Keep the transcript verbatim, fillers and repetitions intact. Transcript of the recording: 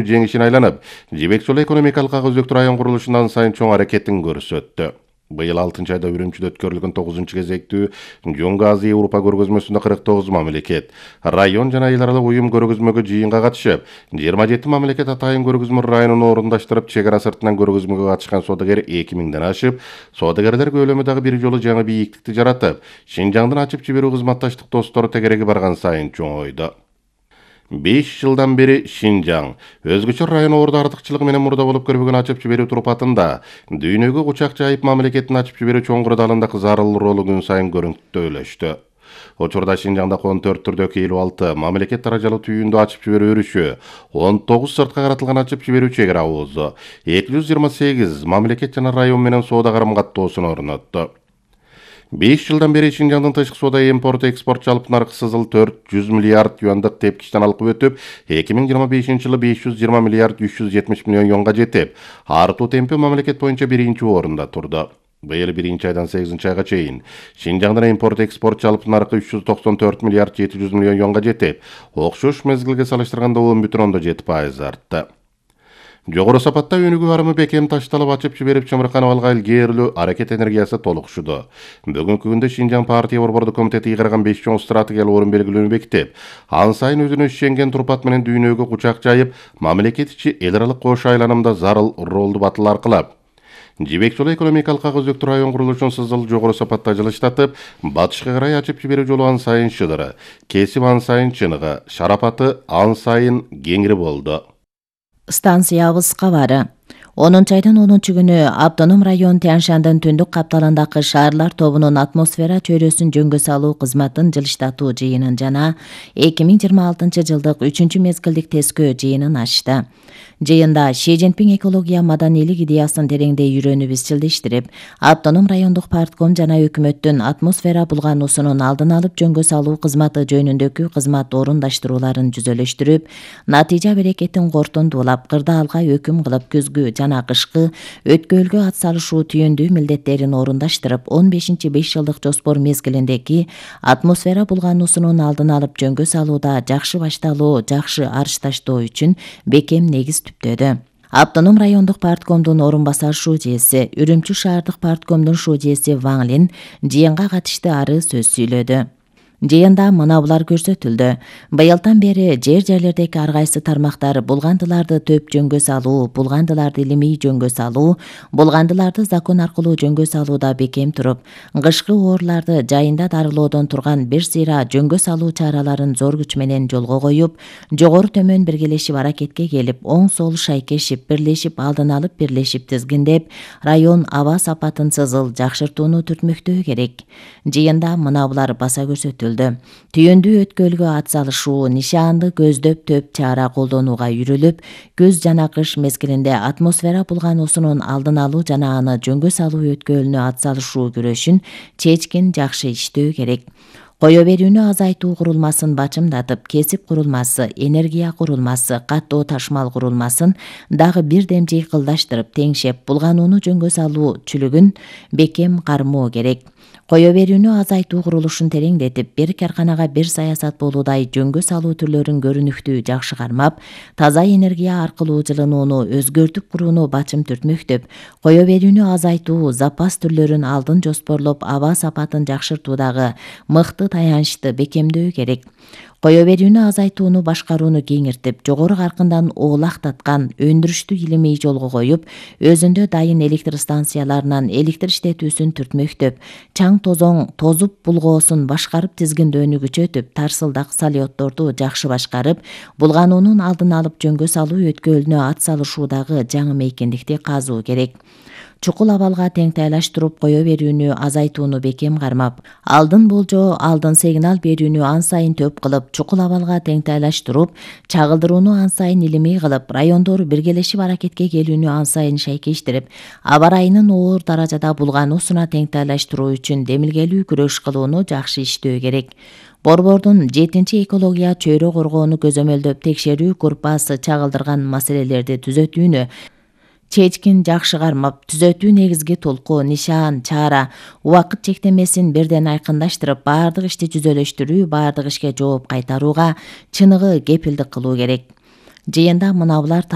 жеңишин айланып, Жибек Жолу экономикалык ага өзөктүү район курулушунан сайын чоң аракетин көрсөттү. Быйыл алтынчы айда Үрүмчүдө өткөрүлгөн тогузунчу кезектүү Жоңго Азия Европа көргөзмөсүндө кырк тогуз мамлекет, район жана эл аралык уюм көргөзмөгө жыйынга катышып, жыйырма жети мамлекет атайын көргөзмө районун орундаштырып, чек ара сыртынан көргөзмөгө катышкан соодагер эки миңден ашып, соодагерлер көлөмү дагы бир жолу жаңы бийиктикти жаратып, Шинжаңдын ачып жиберүү кызматташтык достору тегереги барган сайын чоңойду. беш жылдан бери Шинжаң өзгөчө район орду артыкчылыгы менен мурда болуп көрбөгөн ачып жиберүү турпатында дүйнөгө кучак жайып мамлекеттин ачып жиберүү чоң кырдаалындагы зарыл ролу күн сайын көрүнүктүүлөштү. Учурда Шинжаңда он төрт түрдөгү элүү алты мамлекет даражалуу түйүндү ачып жиберүү өрүшү, он тогуз сыртка каратылган ачып жиберүү чек ара абузу, эки жүз жыйырма сегиз мамлекет жана район менен соода карым каттоосун орнотту. беш жылдан бери Шинжаңдын тышкы соода импорт экспорт жалпы наркы сызыл төрт жүз миллиард юандык тепкичтен алкып өтүп, эки миң жыйырма бешинчи жылы беш жүз жыйырма миллиард үч жүз жетимиш миллион юанга жетип, артуу темпи мамлекет боюнча биринчи орунда турду. Быйыл биринчи айдан сегизинчи айга чейин Шинжаңдын импорт экспорт жалпы наркы үч жүз токсон төрт миллиард жети жүз миллион юанга жетип, окшош мезгилге салыштырганда он бүтүн ондон жети пайыз артты. Жогору сапатта өнүгүү барымы бекем ташталып ачып жиберип чымырканып алган илгээрилүү аракет энергиясы толукшуду. Бүгүнкү күндө Шинжаң партия борбордук комитети ыйгарган беш чоң стратегиялык орун белгилөөнү бекитип, ан сайын өзүнө ишенген турпат менен дүйнөгө кучак жайып, мамлекет ичи эл аралык кош айланымда зарыл ролду батыл аркылап, Жибек Жолу экономикалык ага өзөктүү район курулушун сызыл жогору сапатта жылыштатып, батышка карай ачып жиберүү жолу ан сайын шыдыры, кесип ан сайын чыныгы, шарапаты ан сайын кеңири болду. Станциябыз кабары. онунчу айдын онунчу күнү Автоном район Тянь-Шандын түндүк капталындагы шаарлар тобунун атмосфера чөйрөсүн жөнгө салуу кызматын жылыштатуу жыйынын жана эки миң жыйырма алтынчы жылдык үчүнчү мезгилдик тескөө жыйынын ачты. Жыйында Ши Цзиньпин экология маданийлик идеясын тереңдей үйрөнүп изчилдештирип, Автоном райондук партком жана өкмөттүн атмосфера булгануусунун алдын алып жөнгө салуу кызматы жөнүндөгү кызмат орундаштырууларын жүзөлөштүрүп, натыйжа берекетин кортондуулап, кырдаалга өкүм кылып күзгү жана кышкы өткөөлгө ат салышуу түйүндүү милдеттерин орундаштырып, он бешинчи беш жылдык жоспор мезгилиндеги атмосфера булгануусунун алдын алып жөнгө салууда жакшы башталуу, жакшы арышташтоо үчүн бекем негиз түптөдү. Автоном райондук парткомдун орун басар шуудиеси, Үрүмчү шаардык парткомдун шуудиеси Ван Лин жыйынга катышты ары сөз сүйлөдү. Жыйында мына булар көрсөтүлдү. Быйылдан бери жер жерлердеги ар кайсы тармактар булгандыларды төп жөнгө салуу, булгандыларды илимий жөнгө салуу, булгандыларды закон аркылуу жөнгө салууда бекем туруп, кышкы оорларды жайында дарылоодон турган бир сыйра жөнгө салуу чараларын зор күч менен жолго коюп, жогору төмөн биргелешип аракетке келип, оң сол шайкешип, бирлешип, алдын алып бирлешип тизгиндеп, район аба сапатын сызыл жакшыртууну түртмөктөө керек. Жыйында мына булар баса көрсөтүлдү. Түйүндүү өткөөлгө ат салышуу, нишаанды көздөп төп чара колдонууга үйрүлүп, күз жана кыш мезгилинде атмосфера булгануусунун алдын алуу жана аны жөнгө салуу өткөөлүнө ат салышуу күрөшүн чечкин жакшы иштөө керек. Кое берүүнү азайтуу курулмасын бачымдатып, кесип курулмасы, энергия курулмасы, каттоо ташмал курулмасын дагы бир дем жыйкылдаштырып, теңшеп, булганууну жөнгө салуу чүлүгүн бекем кармоо керек. Кое берүүнү азайтуу курулушун тереңдетип, бир карканага бир саясат болуудай жөнгө салуу түрлөрүн көрүнүктүү жакшы кармап, таза энергия аркылуу жылынууну өзгөртүп курууну бачым түртмөктөп, кое берүүнү азайтуу, запас түрлөрүн алдын жоспорлоп, аба сапатын жакшыртуудагы мыкты таянычты бекемдөө керек. Кое берүүнү азайтууну башкарууну кеңиртип, жогору каркындан оолактаткан өндүрүштү илимий жолго коюп, өзүндө дайын электр станцияларынан электр иштетүүсүн түртмөктөп, чаң тозоң тозуп булгоосун башкарып тизгиндөөнү күчөтүп, тарсылдак салиотторду жакшы башкарып, булгануунун алдын алып жөнгө салуу өткөөлүнө ат салышуудагы жаңы мейкиндикти казуу керек. Чукул абалга тең тайлаштырып кое берүүнү азайтууну бекем кармап, алдын болжоо, алдын сигнал берүүнү ан сайын төп кылып, чукул абалга тең тайлаштырып, чагылдырууну ан сайын илимий кылып, райондор биргелешип аракетке келүүнү ан сайын шайкештирип, аба ырайынын оор даражада булгануусуна тең тайлаштыруу үчүн демилгелүү күрөш кылууну жакшы иштөө керек. Борбордун жетинчи экология чөйрө коргоону көзөмөлдөп текшерүү группасы чагылдырган маселелерди түзөтүүнү чечкин жакшы кармап, түзөтүү негизги толку, нишаан, чара, убакыт чектемесин бирден айкындаштырып, баардык ишти жүзөлөштүрүү, баардык ишке жооп кайтарууга чыныгы кепилдик кылуу керек. Жыйында мынабулар